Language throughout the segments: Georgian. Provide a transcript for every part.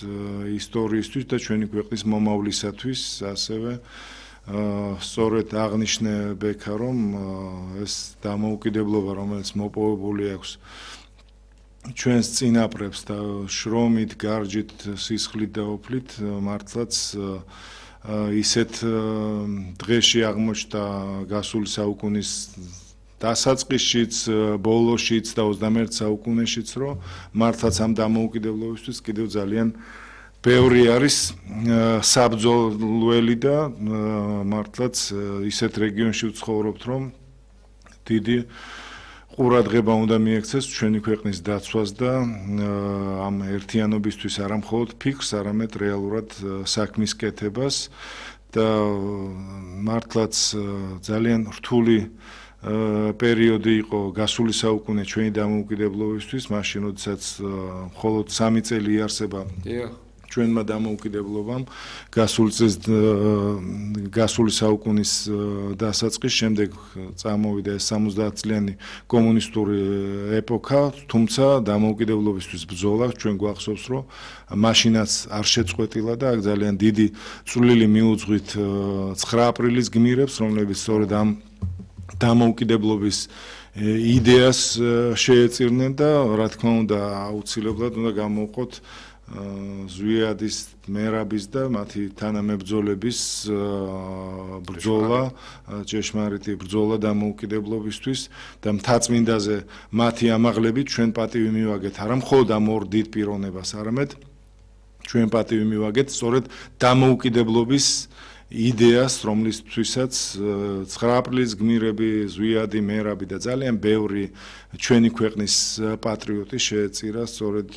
ისტორიისთვის და ჩვენი ქვეყნის მომავლისათვის ასევე სწორედ აღნიშნე ბექა რომ ეს დამოუკიდებლობა რომელიც მოპოვებული აქვს ჩვენს წინაპრებს და შრომით, გარჯით, სისხლით და ოფლით მართლაც ისეთ დღეში აღმოჩნდა გასული საუკუნის დასაწყისშიც, ბოლოშიც და 21 საუკუნეშიც რომ მართლაც ამ დამოუკიდებლობისთვის კიდევ ძალიან ბევრი არის საბრძოლველი და მართლაც ისეთ რეგიონში ვცხოვრობთ რომ დიდი ყურადღება უნდა მიექცეს ჩვენი ქვეყნის დაცვას და ამ ერთიანობისთვის არა მხოლოდ ფიქრს, არამედ რეალურად საქმის კეთებას და მართლაც ძალიან რთული პერიოდი იყო გასული საუკუნე ჩვენი დამოუკიდებლობისთვის, მაშინ როდესაც მხოლოდ 3 წელი იარსება ჩვენმა დამოუკიდებლობამ გასული საუკუნის დასაწყის შემდეგ წამოვიდა ეს 70 წლიანი კომუნისტური ეპოქა, თუმცა დამოუკიდებლობისთვის ბრძოლა ჩვენ გვახსოვს რომ მაშინაც არ შეწყვეტილა და აქ ძალიან დიდი წვლილი მიუძღვით 9 აპრილის გმირებს, რომლებიც სწორედ ამ დამოუკიდებლობის იდეას შეეწირნენ და რა თქმა უნდა აუცილებლად უნდა გამოვყოთ ზვიადის, მერაბის და მათი თანამებრძოლების ბრძოლა, ჭეშმარიტი ბრძოლა დამოუკიდებლობისთვის და მთაწმინდაზე მათი ამაღლებით ჩვენ პატივი მივაგეთ არა მხოლოდ ამ ორ დიდ პიროვნებას, არამედ ჩვენ პატივი მივაგეთ სწორედ დამოუკიდებლობის იდეას, რომლისთვისაც 9 აპრილის გმირები, ზვიადი, მერაბი და ძალიან ბევრი ჩვენი ქვეყნის პატრიოტი შეეწირა სწორედ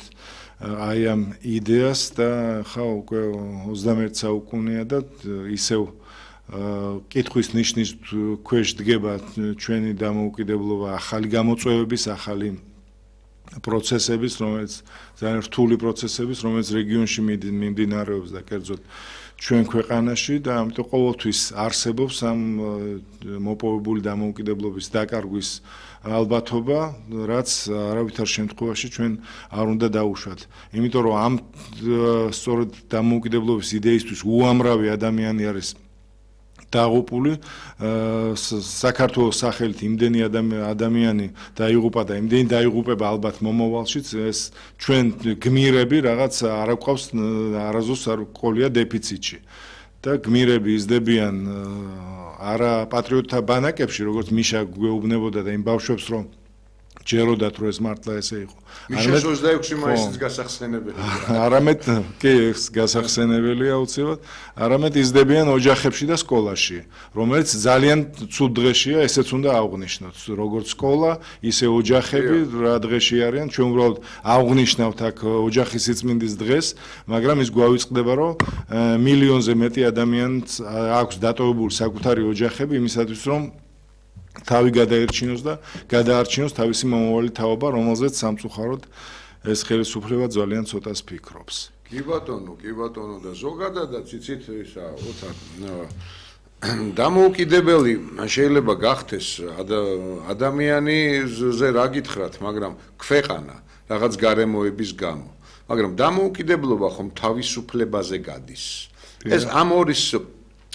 აი ამ იდეას და ხა უკვე 21 საუკუნეა და ისევ კითხვის ნიშნის ქვეშ დგება ჩვენი დამოუკიდებლობა ახალი გამოწვევების, ახალი პროცესების, რომელიც ძალიან რთული პროცესების, რომელიც რეგიონში მიმდინარეობს და კერძოდ ჩვენ ქვეყანაში და ამიტომ ყოველთვის არსებობს ამ მოპოვებული დამოუკიდებლობის დაკარგვის ალბათობა, რაც არავითარ შემთხვევაში ჩვენ არ უნდა დაუშვათ. იმიტომ რომ ამ სწორედ დამოუკიდებლობის იდეისთვის უამრავი ადამიანი არის დაღუპული, საქართველოს სახელით იმდენი ადამიანი დაიღუპა და იმდენი დაიღუპება ალბათ მომავალშიც, ეს ჩვენ გმირები რაღაც არ გვყავს არასდროს არ ყოლია დეფიციტში. და გმირები იზრდებიან არა პატრიოტთა ბანაკებში, როგორც მიშა გვეუბნებოდა და იმ ბავშვებს რომ ჯეროდათ რომ ეს მართლა ესე იყო. მიშას 26 მაისის გასახსენებელია. არამედ კი ეს გასახსენებელია აუცილებლად, არამედ იზრდებიან ოჯახებში და სკოლაში, რომელიც ძალიან ცუდ დღეშია, ესეც უნდა აღვნიშნოთ, როგორც სკოლა, ისე ოჯახები რა დღეში არიან, ჩვენ უბრალოდ აღვნიშნავთ აქ ოჯახის სიწმინდის დღეს, მაგრამ ის გვავიწყდება რომ მილიონზე მეტი ადამიანს აქვს დატოვებული საკუთარი ოჯახები იმისათვის რომ თავი გადაერჩინოს და გადაარჩინოს თავისი მომავალი თაობა, რომელზეც სამწუხაროდ ეს ხელისუფლება ძალიან ცოტას ფიქრობს. კი ბატონო და ზოგადადაც იცით ისა ოთარ დამოუკიდებელი შეიძლება გახდეს ადამიანზე რა გითხრათ, მაგრამ ქვეყანა რაღაც გარემოების გამო. მაგრამ დამოუკიდებლობა ხომ თავისუფლებაზე გადის. ეს ამორის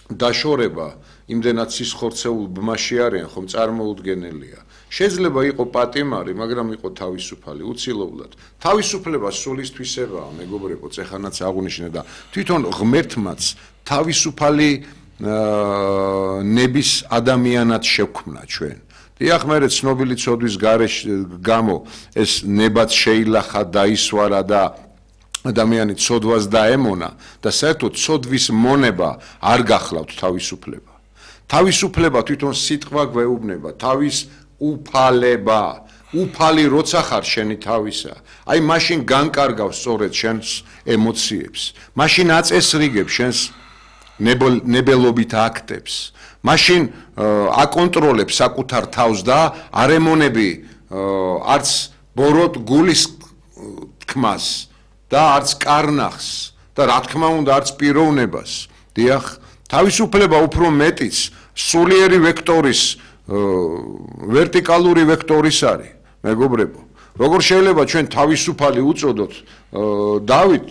დაშორება იმდენად სისხორცეულ ბმაში არიან, ხომ წარმოუდგენელია. შეიძლება იყო პატიმარი, მაგრამ იყო თავისუფალი, უცილობლად. თავისუფლება სულისთვისებაა, მეგობრებო, ეხანაც აღნიშნე და თვითონ ღმერთმაც თავისუფალი ნების ადამიანად შევქმნა ჩვენ. დიახ, მე ცნობილი ცოდვის გამო ეს ნებაც შეილახა, დაისვარა და ადამიანი ცოდვას დაემონა და საერთოდ ცოდვის მონება არ გახლავთ თავისუფლება. თავისუფლება თვითონ სიტყვა გვეუბნება, თავის უფალება. უფალი როცა ხარ შენი თავისა, აი მაშინ განკარგავს სწორედ შენს ემოციებს. მაშინ აწესრიგებს შენს ნებელობით აქტებს. მაშინ აკონტროლებს საკუთარ თავს და არ ემონები არც ბოროტ გულის თქმას და არც კარნახს და რა თქმა უნდა არც პიროვნებას. დიახ, თავისუფლება უფრო მეტიც სულიერი ვექტორის ვერტიკალური ვექტორის არის, მეგობრებო. როგორ შეიძლება ჩვენ თავისუფალი უწოდოთ დავით